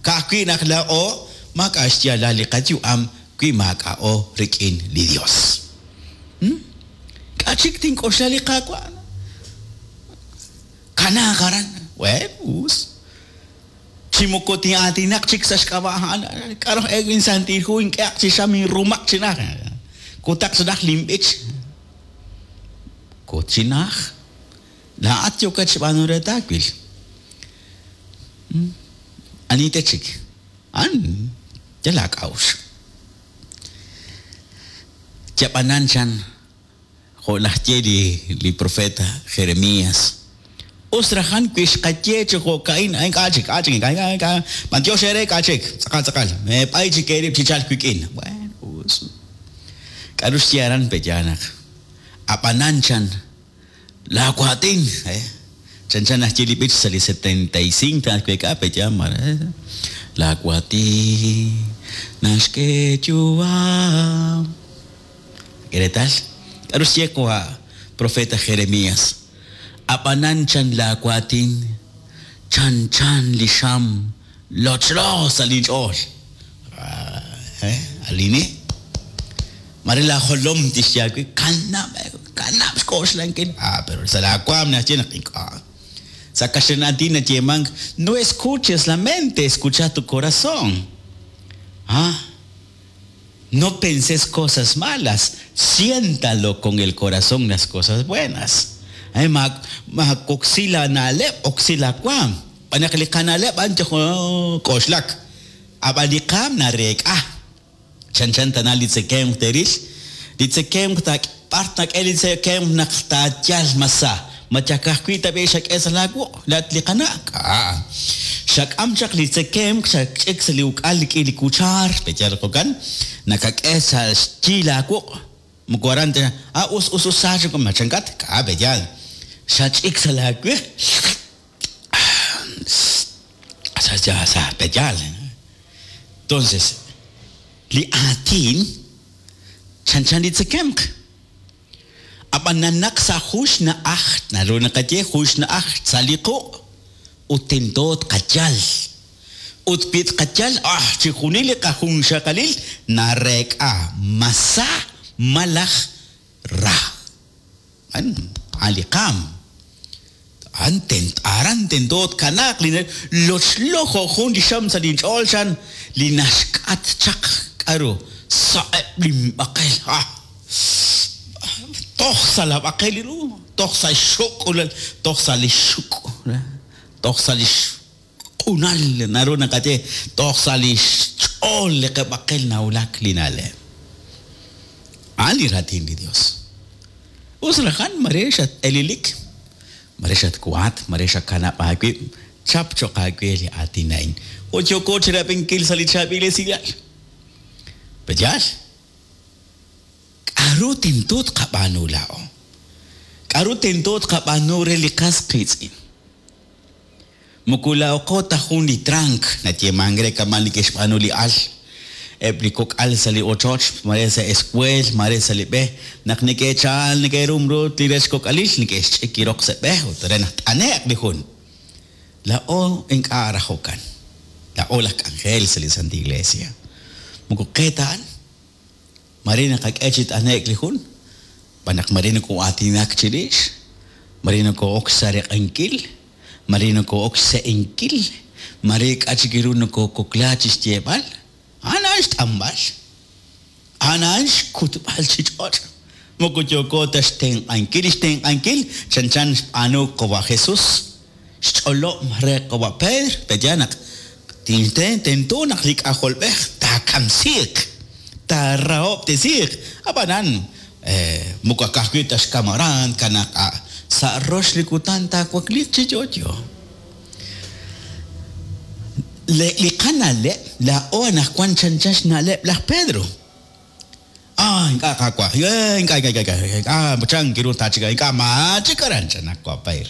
Ka'ajwi' naq laa'o maak'a' xyaalal li qayu'am wi maak'a'o rik'in li Dios. K'a' chik tink'oxla li Qaawa'? Kanaaq aran. Bueno, us. Chi moko tin'aatinaq chik sa' xk'ab'a' a'an. K'aru aj e Santil Hu ink'ehaq chi xam inrumaq chi najt. Kutaq chi najt linb'ich. Kut chi najt. Laa'at yookat xb'aanu re taawil. Ani te chik? A'an yal aak'a'uxl. Yab'anan chan, jo' naxye li li profeta Jeremías, Us rajan wi xqaye chi jo'ka'in, ink'a' chik, k'a' chik, ink'a', ink'a', ink'a', b'antiox eere, k'a' chik, tz'aqal, tz'aqal, meeb'ay chik eerib' chi chalk wik'in. Bueno, us. K'a'ru xye aran pe' yaal naq, A'b'anan chan, Laa waatin, eh, chanchan naxye li b'ich sa' li 75 taatweek'a pe' yaal mare, Laa waatin naxk'e yu'am. K'e reetal, k'a'ru xye qawa' profeta Jeremias, A'b'anan chan laa waatin chanchan li xam lochlo sa' lin ch'ool. Eh, alini? Mare laa jolom tixye aawe, Kanab', kanab' xk'oxlankil. Ah, pero sa' laa waam naxye naq ink'a'. Sa' kaxlan aatin nayeemank, No escuches la mente, escucha tu corazón. Ah, no penses cosas malas, siéntalo con el corazón las cosas buenas. Eh, maawoksi laa na'leb', oksi laa waam. Xb'aan naq li qana'leb' a'an yal k'oxlak, ab'an li qaam nareek'a. Chanchan tana li tzekemq teeril, li tzekemq b'ar taak'e li tzekemq naq taayal mas sa, ma yal ka'ajwi' tab'i' xak'e sa' laawuq' laa'at li qana'? K'a'. Xak'am chaq li tzekemq xach'ik sa' li uk'al rik'in li kuchaar, pe'yaal jo'kan? Nakak'e sa' xyi laawuq', moko aran ta, a us us us sa chik ma chankat? K'a' pe'yaal. Xach'ik sa' laawe. Sa pe'yaal. Entonces, li aatin chanchan li tzekemq. Ab'an nanaq sa' jun xna'aj, naru naqaye jun xna'aj sa' li quq' ut tento tqayal. Ut wi tqayal, ah, chixjunil li qajunxaqalil nareek'a ma sa malaj ra. A'an a'an li qaam. A'an tent aran tento tkanaaq li lochlo jo' jun li xam sa' linch'ool chan li naxk'at chaq k'aru sa'eb' linb'aqel. Ah! Toj sa' la b'aqel li ru, toj sa' xxuk'ulal, toj sa' li xxuk', toj sa' li xq'unal naru naqaye, toj sa' li xch'ool li qab'aqel nawulak li na'leb'. A'an li raatin li Dios. Us rajan mare xat-elilik, mare xatwaat, mare xakanab' aawib', chap cho'q aawe li aatin a'in. Ut yooko chirab'inkil sa' li chaab'il esilal. Pe'yaal? K'aru tento tqab'aanu laa'o? K'aru tento tqab'aanu re li qas qiitz'in? Moko laa'oqo ta jun li trank, nayeemank re kama' li ke'xb'aanu li al. Eb' li kok'al sa' li ochoch, mare sa' eskueel, mare sa' li b'e, naq neke'chal neke'rumrut li rech kok'alil, neke'xch'ik li roq sa' b'e ut re naq t'ane'q li jun. Laa'o ink'a' raj jo'kan. Laa'o laj k'anjel sa' li Santil Iglesia. Moko qe ta a'an. Mare naqak'e chi t'ane'k li jun, xb'aan naq mare nokoo'aatinak chirix, mare nokoo'ok xsareq'ankil, mare nokoo'ok xse'enkil, mare k'a' chik ru nokookokla chi xyeeb'al, a'an a'an xt'anb'al, a'an a'an xkutb'al chi ch'och'. Moko yooko ta xtenq'ankil, li xtenq'ankil chanchan xb'aanu qawa' Jesús, xch'olob' re qawa' Pedro, pe'yaal naq tento naq li K'ajolb'ej taakamsiiq, taarahob'tesiiq, ab'anan moko ka'ajwi' ta xkam aran, tkanaq sa' rox li kutan taawakliiq chi yo'yo. Li qana'leb' laa'o anaqwan chanchan xna'leb' laj Pedro. Ah, ink'a' Qaawa', ink'a', ink'a', ink'a', ink'a', chan kiru taachik, ink'a' maachik aran, chan qawa' Payr.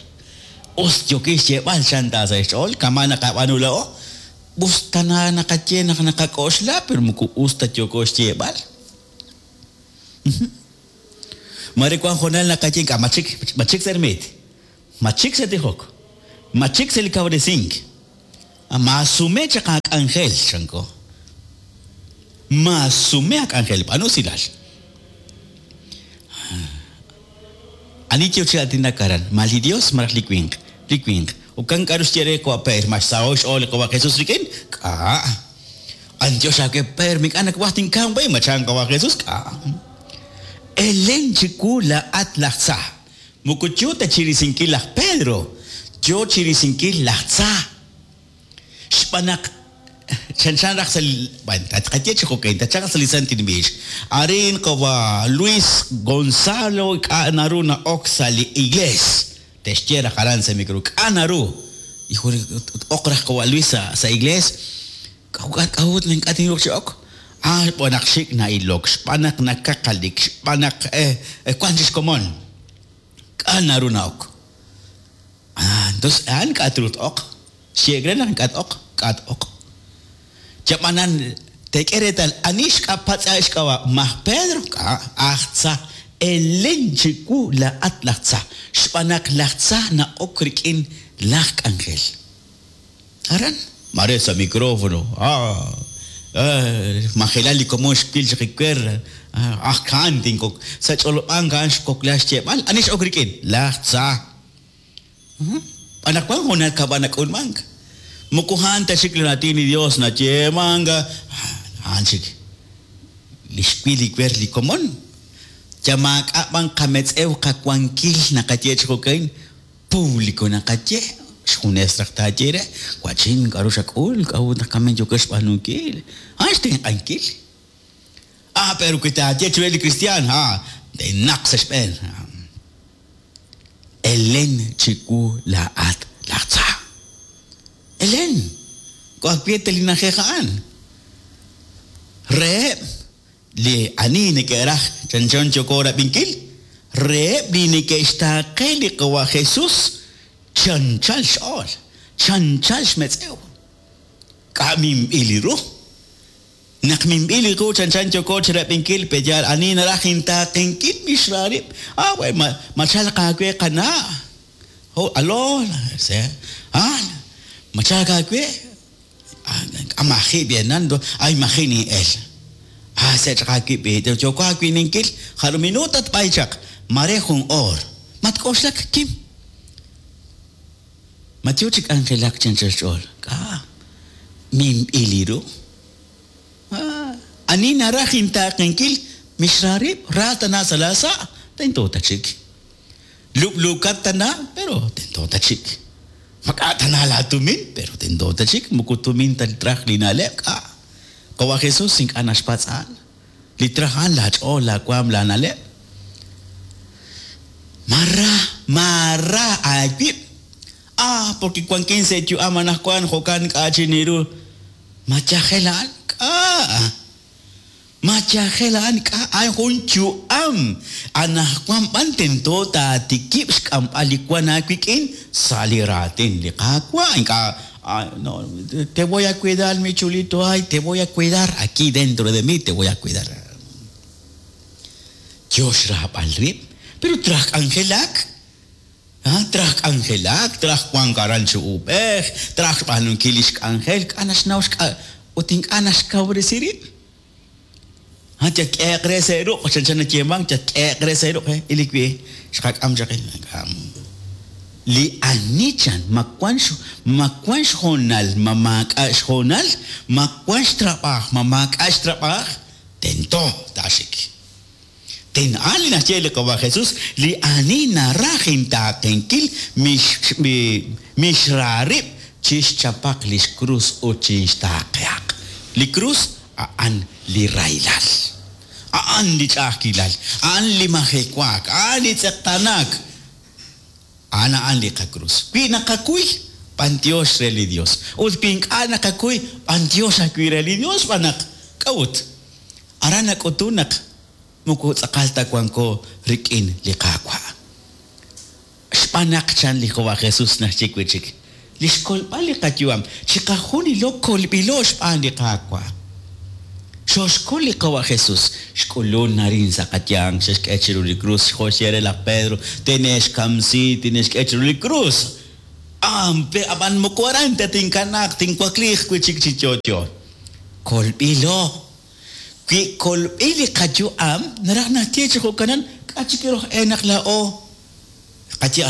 Us yookin xyeeb'al, chan ta sa' xch'ool, kama' naqab'aanu laa'o, us tana naqaye naq naqak'oxla, pero moko us ta yooko xyeeb'al. Mare wank hoonal naqaye ink'a' machik, machik sa' ermiit, machik sa' tijok, machik sa' li kawresink. Maasume chaq aak'anjel, chanko. Maasume aak'anjel, b'aanu usilal. Ani yo chi aatinak aran? Ma li Dios malaj li winq? Li winq. Ukan k'aru xye re qawa' Pedro? Ma xsaho'k xch'ool li qawa' Jesús rik'in? K'a'. B'antiox aawe Pedro, ink'a' nawaj tinkamq we, ma chan qawa' Jesús? K'a'. Elen chiwu laa'at laj tza. Moko yo ta chi risinkil laj Pedro, yo chi risinkil laj tza. Xb'aan naq chanchan raj sa' li, bueno, tqaye chi jo'kan, chanchan raj sa' li santil miix. Arin qawa' Luis Gonzalo ink'a' naru na'ok sa' li iglees. Te'xye raj aran sa' micro, k'a' naru? Ut oq raj qawa' Luis sa' iglees. K'a'ut naq ink'a' tinruuq chi ok? Ah, xb'aan naq xik' na'ilok, xb'aan naq nakaqalik, xb'aan naq wank chik xkomon. K'a' naru na'ok? Ah, entonces a'an ink'a' truuq t-oq. Xye'k re naq ink'a' t-oq, k'a' t-oq. Chab'anan, teek'e reetal ani xk'apatz'a xk'ab'a', ma aj Pedro? K'a', aj tza. Elen chiwu laa'at laj tza, xb'aan naq laj tza na'ok rik'in laj k'anjel. Aran, maare sa' micrófono, ah, majelal li komon xwil chaq iwer, aj a'an tinkok. Sa' ch'olob'ank a'an xkokla xyeeb'al, ani x'ok rik'in? Laj tza. Anaqwan hoonal kab'a nak'ulmank. Moko a'an ta chik li raatin li Yos nayeemank, a'an chik li xwil iwer li komon. Yal maak'a' b'an qametz'ew qawankil naqaye chi jo'ka'in, público naqaye, xjunes raj taaye re, wa'chin k'a'ru xak'ul, k'a'ut naq kamen yookat xb'aanunkil, a'an xtenq'ankil. Ah, pero wi taaye chiruheb' li kristiaan, ah, te'naq sa' xb'een. Elen chiwu laa'at laj tza. Elen! K'a'ajwi' ta li na'ajej a'an. Reheb' li ani neke'raj chanchan yooko rab'inkil, reheb' li neke'xtaaqe li Qawa' Jesus chanchal xch'ool, chanchal xmetz'ew. K'a' minb'il li ru? Naq minb'il li qu chanchan yooko chirab'inkil pe yaal ani naraj intaaqenkil mixra rib'. Ah, we, ma, ma chalq aawe qana'? Oh, alo, se, ah, ma chalq aawe? Ah, maji' b'enan, ay maji' nin'el. Ah, se chaq aawib' b'i, yooko aawininkil, jarub' minuut tatb'ay chaq, mare jun oor. Matk'oxlak, kim. Ma yo chi k'anjelak chi anchal xch'ool? K'a'. Minb'il li ru. Ani naraj intaaqenkil, mixra rib', ra tana sa' laasa', tento ta chik. Lub'luukat tana, pero tento ta chik. Mak'a' tana laatumin, pero tento ta chik, moko tumin ta traj li na'leb', k'a'. Qawa' Jesús ink'a' naxpatz' a'an. Li traj a'an laach'ool, laawaanm, laana'leb'. Maara, maara aawib'. Ah, porque wankin sa' yu'am anaqwan jo'kan k'a' chi niru. Ma yajel a'an? K'a'. Ma yajel a'an? K'a' a'an jun yu'am. Anaqwan b'an tento taatikib' xk'amb'al li wank aawik'in sa' li raatin li Qaawa'. Ink'a' no, te voy a cuidar mi chulito, ay, te voy a cuidar aquí dentro de mí, te voy a cuidar. Yo xraab'al rib', pero traj k'anjelak. Traj k'anjelak, traj wank aran chi uub'ej, traj xb'aanunkil li xk'anjel, k'a' naxnaw xk'a' ut ink'a' naxkawresi rib'. Yatk'ehe'q re sa' ruq', chanchan nayeemank, yatk'ehe'q re sa' ruq', il li xqak'am chaq. Li ani chan, ma wank ma wank xhoonal, ma maak'a' xhoonal, ma wank xtrab'aaj, ma maak'a' xtrab'aaj, tento taaxik. Tenq'an li naxye li Qawa' Jesús, li ani naraj intaaqenkil mixra rib' chixchapaq li xkrus ut chinxtaaqehaq. Li krus a'an li rahilal, a'an li ch'a'ajkilal, a'an li majewaak, a'an li tz'eqtaanaak. A'an a'an li qakrus. Wi naqakuy, b'antiox re li Dios. Ut wi ink'a' naqakuy, b'antiox ajwi' re li Dios xb'aan naq, k'a'ut? Aran nak'utun naq moko tz'aqal ta wanko rik'in li Qaawa'. Xb'aan naq, chan li Jehova Jesus naxye wi' chik, li xkolb'al li qayu'am, chiqajunilo kolb'ilo xb'aan li Qaawa'. Xooxkol li Qawa' Jesus, xk'ulun arin sa' qayanq, xe'xk'e chiru li krus, jo' xye re laj Pedro, Tine'xkamsi, tine'xk'e chiru li krus. Ampe ab'an moko aran ta tinkanaaq, tinwakliiq wi' chik chi yo'yo. Kolb'ilo. Wi kolb'il li qayu'am, naraj naxye chi jo'kanan, k'a' chik ru aj e naq laa'o qaye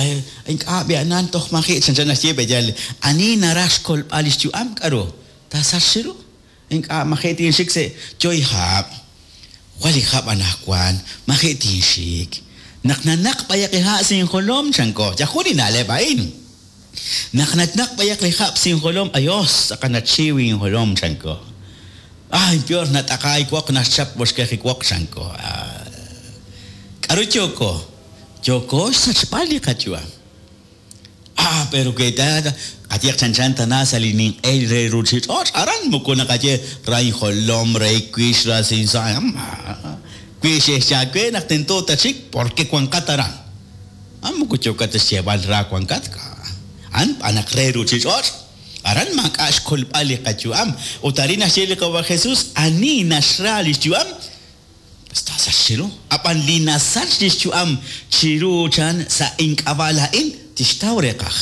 ink'a' b'i'anan toj maji' chanchan naxye b'eyal ani naraj xkolb'al li xyu'am k'aru taasachq chiru. Ink'a' maji' tinxik sa' yoy hab'. Jwal li hab' anajwan, maji' tinxik. Naq nanaq b'ayaq li ha' sa' injolom, chanko. Yal jun li na'leb' a'in. Naq nanaq b'ayaq li hab' sa' injolom, ayos, tz'aqal nachiw injolom, chanko. Ay, peor nat'aqaay woq, naxchap woxkej li woq, chanko. K'aru yooko? Yooko xsachb'al li qayu'am. Ah, pero wi ta qayehaq chanchan tana sa' li ninq'e re ruuchich'och', aran moko naqaye ra injolom, ra iwix, ra sinsa'. Wi xe'xye aawe naq tento tatxik, porque wanqat aran. A'an moko yookat ta xyeeb'al ra wankat, a'an b'an naq re ruuchich'och'. Aran maak'a' xkolb'al li qayu'am. Ut arin naxye li Qaawa' Jesus, ani naxra li xyu'am, Taasachq chiru. Ab'an li nasach li xyu'am chiru chan sa' ink'ab'a' laa'in, tixtaw reeqaj.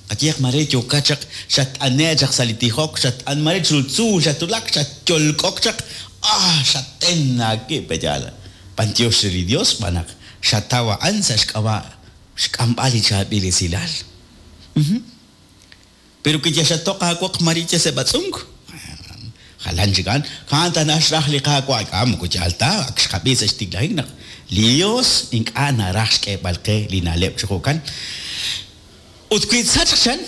Qayehaq mare yookat chaq xatt'ane' chaq sa' li tijok, xatt'an mare chiru tzuul xatwulak, xatyolk'ok chaq, ah, xaten aawib' pe'yaal. B'antiox re li Dios xb'aan naq xataw a'an sa' xk'ab'a' xk'amb'al li chaab'il esilal. Pero wi yal xatoq aawoq mare yal sa' b'atz'unk, jalan chik a'an. A'an tana xraj li Qaawa'. Ink'a' moko yaal ta, ak xqab'i sa' xtiklajik naq li Yos ink'a' naraj xk'eeb'al qe li na'leb' chi jo'kan. Ut wi tsachq chan,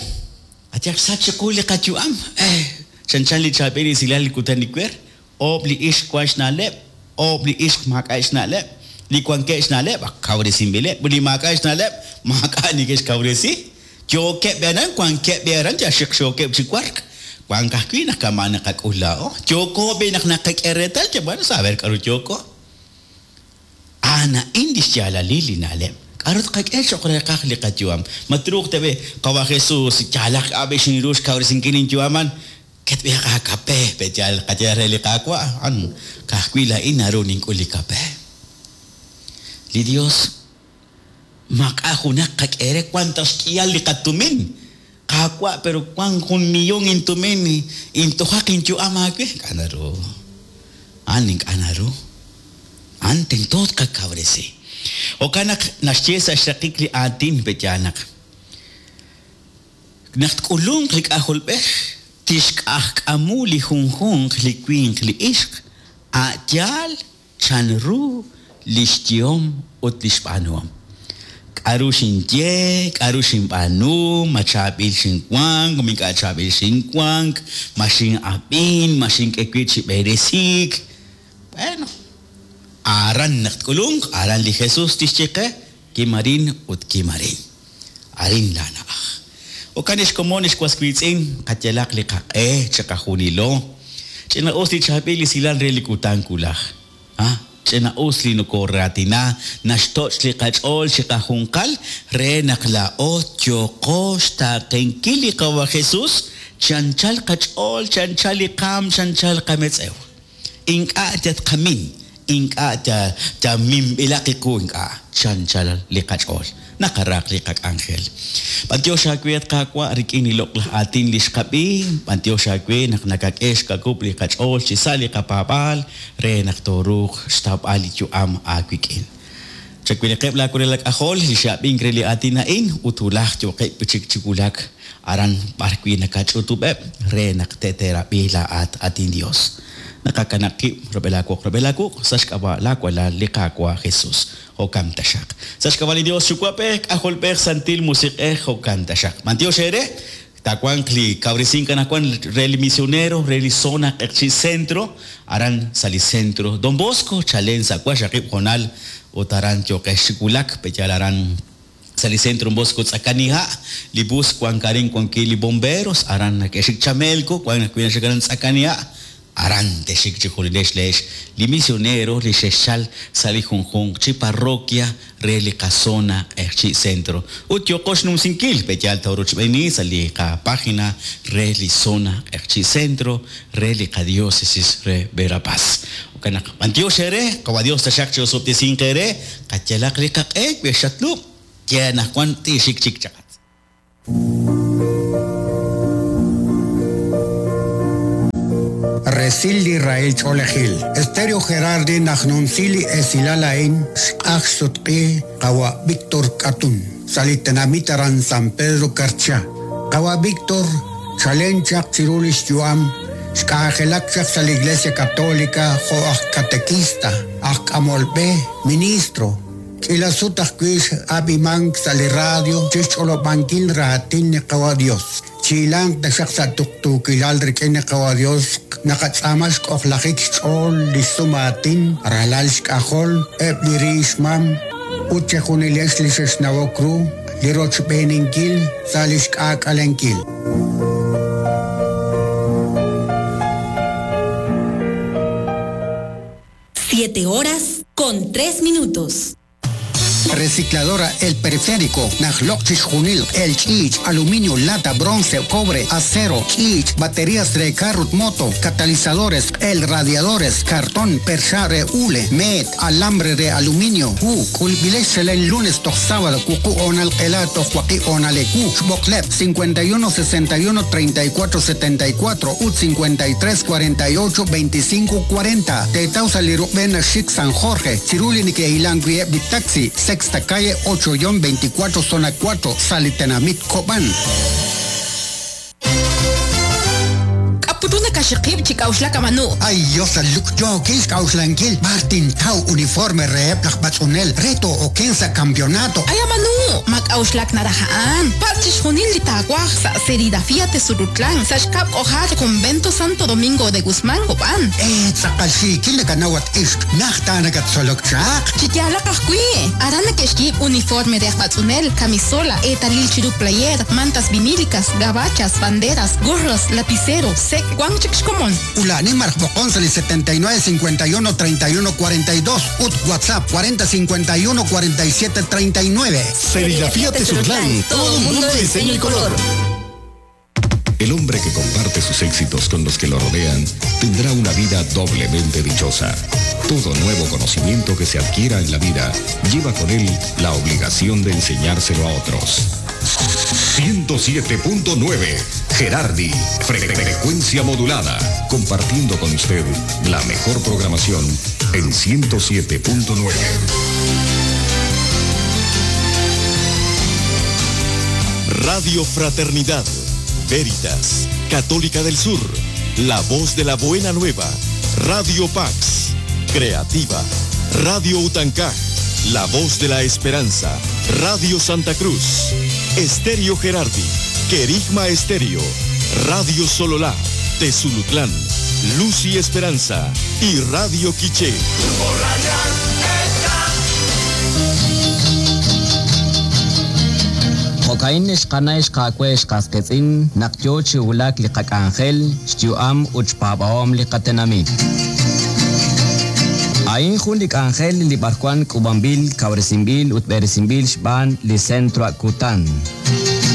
ayaq xsach chiqu li qayu'am. Eh, chanchan li chaab'il esilal li kutan iwer, Oob' li ixq wank xna'leb', oob' li ixq maak'a'eb' xna'leb'. Li wankeb' xna'leb' ak kawresinb'ileb', ut li maak'a'eb' xna'leb' maak'a' neke'xkawresi. Yookeb' aran, wankeb' b'i aran, yal xiqxookeb' chi wark. Wank ajwi' naq kama' naqak'ul laa'o. Yooko b'i' naq naqak'e reetal, yab'an saber k'aru yooko. A'an a'in li xyaalalil li na'leb'. K'aru tqak'e cho'q reeqaj li qayu'am? Ma truuq tab'i' Qawa' Jesús, yaalaq k'a' b'i' xinru xkawresinkil linyu'am a'an? Ketb'ilaq aakape, pe' yaal qaye re li Qaawa', a'an ka'ajwi' laa'in naru nink'ul li kape. Li Yos maak'a' junaq qak'e re, wank ta xk'ihal li qatumin. Qaawa', pero wank jun millón intumin, intojaq inyu'am aawe. Ink'a' naru. A'an ink'a' naru. A'an tento tqakawresi. Jo'kan naq naxye sa' xraqik li aatin, pe' yaal naq. Naq tk'ulunq li K'ajolb'ej, tixk'ajk'amu li junjunq li winq li ixq, a' yaal chanru li xyehom ut li xb'aanuhom. K'aru xinye, k'aru xinb'aanu, ma chaab'il xinwank, ma ink'a' chaab'il xinwank, ma xin'ab'in, ma xink'e wib' chi b'eresiik. Bueno, aran naq tk'ulunq, aran li Jesús tixye qe, Kim arin ut kim arin. Arin laana'aj. Jo'kan ex komon ex was wiitz'in, qayalaq li qaq'e chiqajunilo. Ch'ina'us li chaab'il esilal re li kutan wulaj. Ha? Ch'ina'us li nokooraatina, naxtoch' li qach'ool chiqajunqal re naq laa'o yooqo xtaaqenkil li Qawa' Jesus chi anchal qach'ool, chi anchal li qaanm, chi anchal qametz'ew. Ink'a' tatqamin, ink'a' ta minb'ilaq qiqu, ink'a' chanchal li qach'ool naqaraq li qak'anjel. B'antiox aawe, at Qaawa', rik'in li loq'laj aatin li xqab'i, b'antiox aawe naq nakak'e xkawub' li qach'ool chi sa' li qapaab'aal re naq tooruuq xtawb'al li yu'am aawik'in. Chawilaqeb' laa walal aak'ajol li xe'ab'ink re li aatin a'in ut wulaj yooqeb' wi' chik chi wulak aran b'ar wi' nakach'utub'eb' re naq te'teerab'i laa'at, at inYos. Naqakanab' qib' rub'el aawoq rub'el aawuq' sa' xk'ab'a' laa Walal, li Qaawa' Jesus. Jo'kan taxaq. Sa' xk'ab'a' li Dios Yuwa'b'ej, K'ajolb'ej, Santil Musiq'ej, jo'kan taxaq. B'antiox eere, taawanq li kawresink anaqwan re li misionero re li zona Q'eqchi' Centro, aran sa' li Centro Don Bosco, chalen sa' waqxaqib' hoonal ut aran yooqex chi wulak, pe'yaal aran sa' li Centro Don Bosco Tz'akaniha', li bus wank arin wan wi' li bomberos, aran neke'xik Chamelco, wank ajwi' naxik aran Tz'akaniha'. Aran texxik chi julilex leex li misionero li xexchal sa' li junjunq chi parroquia re li qazona Q'eqchi' Centro ut yooqo xnumsinkil pe' yaal toorochb'eeni sa' li qapagina re li zona Q'eqchi' Centro re li qadiócesis re Verapaz. Jo'kan naq b'antiox eere, Qawa' Dios taxaq chi'osob'tesinq eere, qayalaq li qaq'e wi xatlub', ye anaqwan tiixik chik chaqat. Resil li rahil ch'oolejil. Estéreo Gerardi naj numsi li esilal a'in xq'aj xsutq'i qawa' Víctor K'atun sa' li tenamit aran San Pedro Carchá. Qawa' Víctor chalen chaq chiru li xyu'am xk'anjelak chaq sa' li Iglesia Católica jo' aj katekista, aj k'amol b'e, ministro. K'iila sut ajwi' x'ab'imank sa' li radio chi xch'olob'ankil raatin li Qawa' Dios. Chihilanq taxaq sa' tuqtuukilal rik'in li Qawa' Dios naqatz'aama xk'ojlajik xch'ool li xsum aatin, ralal xk'ajol, eb' li ri xmam, ut chejunilex li xexnawok ru li rochb'eeninkil sa' li xk'aak'alenkil. Siete horas con tres minutos. Recicladora El Periférico, Najloq Chixjunil, El Chich, Aluminio, Lata, Bronce, Cobre, Acero, Chich, Baterías de carro, Moto, Catalizadores, El Radiadores, Cartón, Percha, Hule, Met, Alambre de Aluminio, U, Kulbilesh, el lunes, toch sábado, Cucu, Onal, Elato, Joaquí, Onalecu, Xboklep, 51 61 34 74, UT 53 48 25 40, Tetausa Lirubena Chic San Jorge, Ciruli Nike Ilan Taxi, Sexta calle 8-24, zona 4, Salitenamit, Cobán. K'aputuna kaxiqib' chi k'auxlak amanu. Ay, Dios, luk yo kil k'auxlankil Martin Tau uniforme reheb laj b'atz'unel reto oken sa campeonato. Ay amanu, ma k'auxlak naraja'an. Patz chixjunil li taawaj sa' serigrafía Tezurutlán, sa' xkab' k'ojar Convento Santo Domingo de Guzmán, Cobán. Tz'aqal xiikil nakanawat ixq najta nakatzolok chaq. Chiyaalaq ajwi'. Aran nakexyiib' uniforme de aj b'atz'unel, camisola, eetalil chiru player, mantas vinílicas, gabachas, banderas, gorros, lapicero, sek, wan chik xkomon. Ulani marjbokon sa li 79 51 31 42 ut WhatsApp 40 51 47 39. Serigrafía Tezutlán, todo un mundo de diseño y color. El hombre que comparte sus éxitos con los que lo rodean tendrá una vida doblemente dichosa. Todo nuevo conocimiento que se adquiera en la vida lleva con él la obligación de enseñárselo a otros. 107.9 Gerardi, frecuencia modulada, compartiendo con usted la mejor programación en 107.9. Radio Fraternidad, Veritas, Católica del Sur, La Voz de la Buena Nueva, Radio Pax, Creativa, Radio Utancaj, La Voz de la Esperanza, Radio Santa Cruz, Estéreo Gerardi, Querigma Estéreo, Radio Sololá, Tezulutlán, Luz y Esperanza y Radio Quiché. Jo'ka'in xqana xqaawe xqasqitz'in naq yo chi wulak li qak'anjel xyu'am ut xpaab'ahom li qatenamit. A'in jun li k'anjel li b'arwan k'ub'anb'il kawresinb'il ut b'eresinb'il xb'aan li Centro Akutan.